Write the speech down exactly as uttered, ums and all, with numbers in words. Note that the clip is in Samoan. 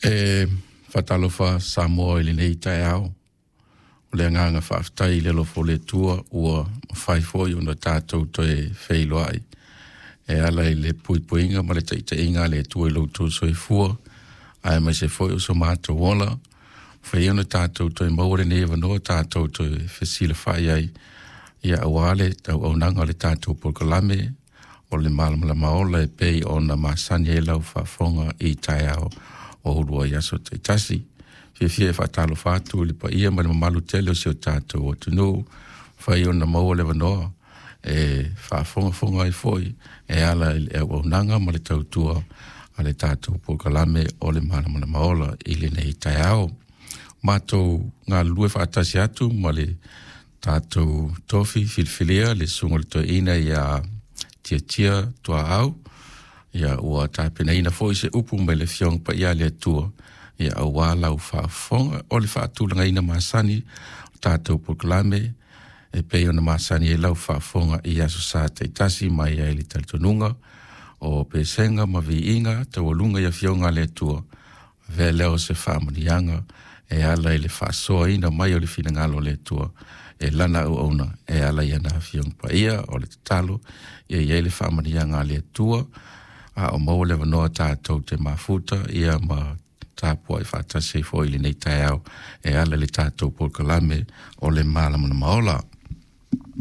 E faatalofa Samoa i lenei taeao. O le agaga faafetai i le alofa o le Atua ua mafai foi ona tatou toe feiloai e ala i le puipuiga ma le taitaiga a le Atua i lo outou soifua, aemaise foi o so matou ola, mafai ona tatou toe maua lenei avanoa tatou toe fesilafai ai, ia aua le auaunaga o le tatou polokalame o le Malamalama Ola e pei ona masani ai lau faafofoga i taeao o uluai aso taitasi. Fiafia e faatalofa atu i le paia ma le mamalu tele o si o tatou atunuu, mafai ona maua le avanoa e faafogafoga ai foi e ala i le auaunaga ma le tautua a le tatou polokalame o le Malamalama Ola i lenei taeao. Matou galulue faatasi atu ma le tatou tofi filifilia le susuga i le toeaina ia Tiatia Tuaau, ia ua tapenaina foi se upu mai le Afioga Paia a le Atua, ia aua lau faafofoga. O le faatulagaina masani o tatou polokalame e pei ona masani ai lau faafofoga i Aso Sa taitasi mai ai le talitonuga o pesega ma viiga taualuga i Afioga a le Atua, avea lea o se faamanuiaga e ala i le faasoaina mai o le finagalo o le Atua e lana auauna e ala i ana Afioga Paia. O le tatalo ia i ai le faamanuiaga a le Atua a o maua le avanoa tatou te mafuta ia ma tapuai faatasi ai foi i lenei taeao e ala i le tatou polokalame o le Malamalama Ola.